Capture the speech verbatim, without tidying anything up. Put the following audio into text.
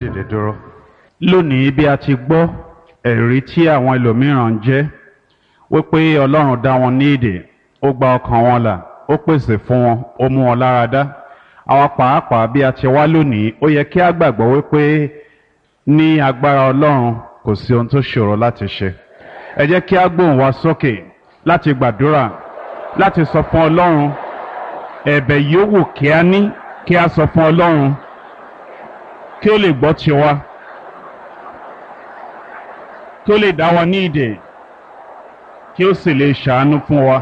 Dìde dúró. Lónìí, bí a ti gbọ́ ẹ̀rí tí àwọn ẹlòmíràn ń jẹ́ wípé Ọlọ́run dá wọn ní ìdè, ó gba ọkàn wọn là, ó pèsè fún wọn, ó mú wọn lára dá. Àwa pàápàá, bí a ti wá lónìí, ó yẹ kí a gbàgbọ́ wípé ní agbára Ọlọ́run, kò sí ohun tó ṣòro láti ṣe. Ẹ jẹ́ kí a gbóhùn wa sókè láti gbàdúrà, láti sọ fún Ọlọ́run ẹ̀bẹ̀ yòówù kí a ní, kí a sọ fún Ọlọ́run kí ó lè gbọ́ tiwa, kí ó lè dá wa ní ìdè, kí ó sì lè ṣàánú fún wa.